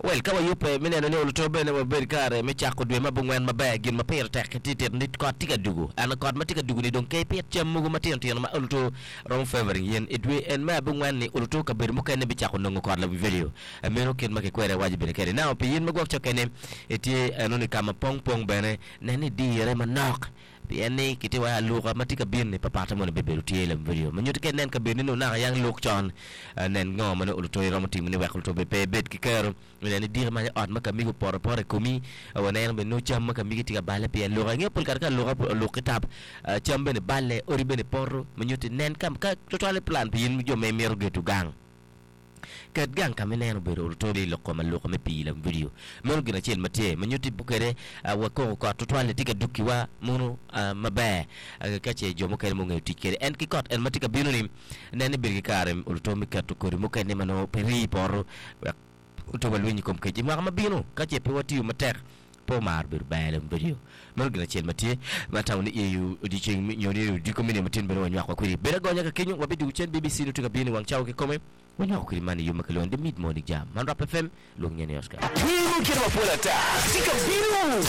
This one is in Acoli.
Well, ka wayubbe me neno ni oluto bene wabed kare me cako dwe me abongwen maber, gin ma pire tek tye tito ni kot tye ka dugo. Ento kot ma tye ka dugo-ni dong ke ipit cam mogo matino tino ma oluto romo favoring yen. I dwe en me abongwen-ni oluto kabedo mukene bicako nongo kot lawivelio. Meno kit ma kikwede awaco bene kede. Now, pi yin ma gwok cokke-ni itye enoni ka ma pong pong bene, nen ni idirre manok. Pien ni kitye wa i aluka ma tye ka bino-ni, papatte moni bibedo tye lawivelio. Ma nyutti ka inen kabedoni nongo naka yang luk con, nen ngo ma nongo oluto iromo timo ni wek oluto bene pe ebed ki kero. Nyo nen idiki manyo ot ma ka migi opoto apota i komi, waneno bene nongo cam ma ka migi tye ka balle pi aluka. Ingeyo pol kare ka aluka oluk ki tap, cam bene balle, odi bene poto. Ma nyutti nen ka tutwalle plan pi in jo ma imito gedo gang. Ket gang ka ma ineno obedo oluto i lok kom aluka me pii lam vidio. Meno gin acel ma tye ma nyutti kwede wakoko kot tutwal-li tye ka dukkiwa mono maber ka ce jo mukene ma ongeyo tic kwede. En ki kot en ma tye ka bino-ni, nen ni bedo ki kare oluto me keto kodi mukene ma nongo pe rii i poto wek oto walweny i kom kec i mwaka ma bino. Ka ce pe watiyo matek, pe omaro bedo ber lam vidio. Meno gin acel ma tye ma atamo ni i odyeceng nyo ni i odiko me nino matin bene wanywako kwedi. Bed agonya ka kenyo, wabidwogo cen BBC nongo tye ka bino i wang cawa kikome. Wanywako kwedi man i yo ma kilwongo ni The Mid Morning Jam. Man Rap FM, lwong nyen ni Oscar. Wer mukene mapol ata tye ka bino!